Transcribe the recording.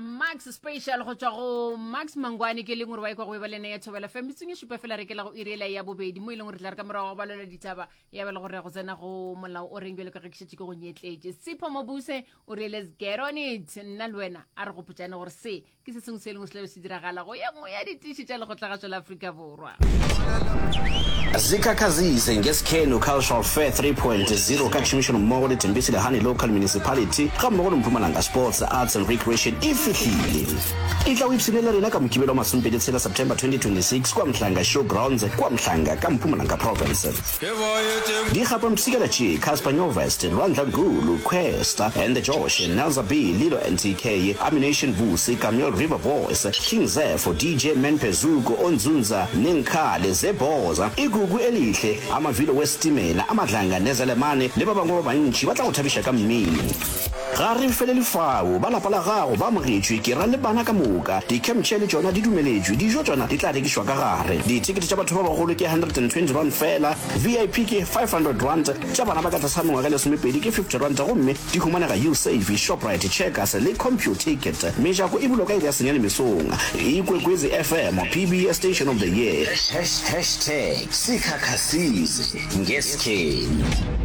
Max Special go tšwa go Max Mangwane ke leng gore wa ikwa go eba lena ya Thobela FM metsong e šupa fela re ke la go iri ela ya bobedi mo e leng gore tla re ka morago go balelwa ditaba ya ba le gore go tsena go molao o reng bjalo ka ge ke šetše ke go nyetletše Sipho Mobuse o re let's get on it nna le wena a re gopotšane gore se ke se sengwe se e leng se tlabe se diragala go ye nngwe ya ditiši tša lekgotlagašo la Afrika Borwa. Zikhakhazise ngeSkhenu Cultural Fair 3.0 ka tšhomišanommogo le Thembisile Hani Local Municipality gammogo le Mpumalanga Sports, Arts and Recreation e fihlile. Etla o ipshine le rena ka Mokibelo wa masomepedi tshela September 2026 kua Mhlanga Show Grounds kua Mhlanga ka Mpumalanga Province. Di gapa mpshikela tše, Cassper Nyovest, Lwandla Gulu, Kwesta and the Josh, Nelza B, Lilo NTK, Ammunition Vusi, Kameel River Boys, King Zepho, DJ Menpe Zuko, Onzunza, Nenkhale, Zeboza, Igugu Elihle, Amavilo Wesitimela, Amadlanga Nezelemane le ba bangwe ba bantši ba tla go thabiša ka mmino. Ga re felele fao, ba lapa la gago ba amogetšwe, ke ra le bana ka moka. Di-camp chair le tšona di dumeletšwe, dijo tšona di tla rekišwa ka gare. Dithekete tša batho ba bagolo ke R120 feela, VIP ke R500, tša bana ba ka tlase ga mengwaga e lesomepedi ke R50 gomme di humanega Usave, Shoprite, Checkers le Computicket. Mejako e bulwa ka iri ya senyane mesong. Ikwekwezi FM, PBS Station of the Year. Hashtag Sikhakhasize ngeSkhenu.